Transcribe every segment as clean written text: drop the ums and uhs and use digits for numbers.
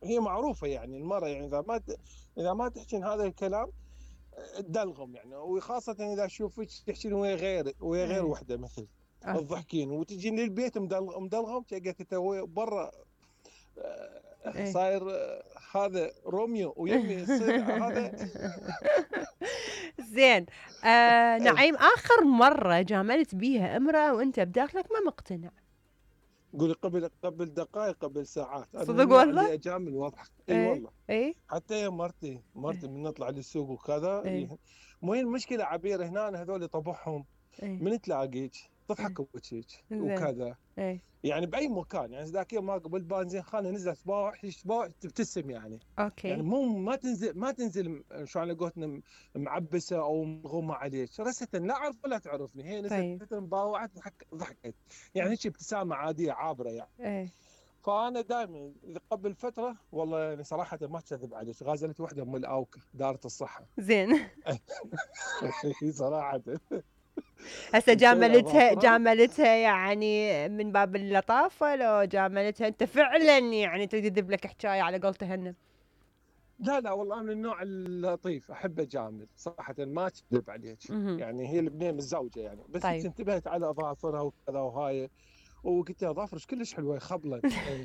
هي معروفه يعني المراه، يعني اذا ما تحكين هذا الكلام تدلغم يعني، وخاصه اذا اشوفك تحكين ويا غير ايه. وحده مثل اوكي. تضحكين وتجين للبيت مدلغم شقت انت برا ايه. صاير هذا روميو ويمي يصير هذا. زين. اي نعيم، آخر مرة جاملت بيها امرأة وأنت بداخلك ما مقتنع؟ قولي قبل دقائق قبل ساعات، انا من صدق النوع والله؟ اللي اجامل واضحك، اي ايه. والله. ايه. حتى يا مرتي من نطلع للسوق وكذا ايه. مو هي المشكله عبير هنا هذول طبعهم ايه. من تلاقيك ايه. تضحك بوجهك زين. وكذا، ايه. يعني باي مكان. يعني ذاك اليوم ما قبل بنزين خانه نزلت باوع تبتسم يعني. يعني اوكي. مو ما تنزل شلون على قولتنا معبسه او مغمى عليك رسة، لا اعرف ولا تعرفني، هي نزلت طيب. مباوعت ضحكت يعني هيك ابتسامه عاديه عابره يعني. ايه. فانا دائما قبل فتره والله يعني صراحه ما اكذب عليك غازلت وحده من الاوكا دارة الصحه. زين. صراحه هسه مشينا اظافرها. جاملتها يعني من باب اللطافة، لو جاملتها انت فعلا يعني تكذب لك حكاية على قول تهنم؟ لا لا والله من النوع اللطيف احب اجامل صراحه ما اكذب عليك. مهم. يعني هي البنيه متزوجه يعني، بس هيك طيب. انتبهت على اظافرها وكذا وهاي، وقلت لها اظافرك كلش حلوه خبلت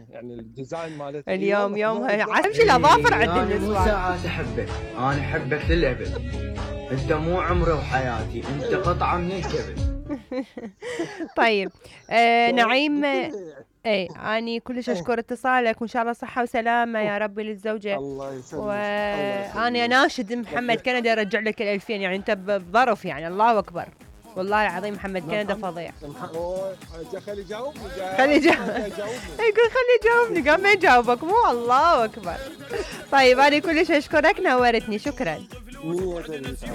يعني الديزاين مالتها اي اليوم والله يومها ذوق. عارف شو الاظافر عند انا مو النسوان. ساعات احبك، انا احبك للابد. انت مو عمري وحياتي، انت قطعه من الكبد. طيب. نعيم. قلت لها اي، اني كلش إيه، اشكر اتصالك، وان شاء الله صحة وسلامة أوه، يا ربي للزوجة. الله يسلمك الله وانا يخليك. اناشد محمد كندا يرجع لك ال2000، يعني انت بظرف، يعني الله اكبر. والله العظيم محمد كندا فظيع. أوه، خلي يجاوبني خلي ما يجاوب. يجاوبني. يقول خلي يجاوبني، قام ما يجاوبك، مو الله اكبر. طيب انا كلش اشكرك، نورتني، شكرا. 100%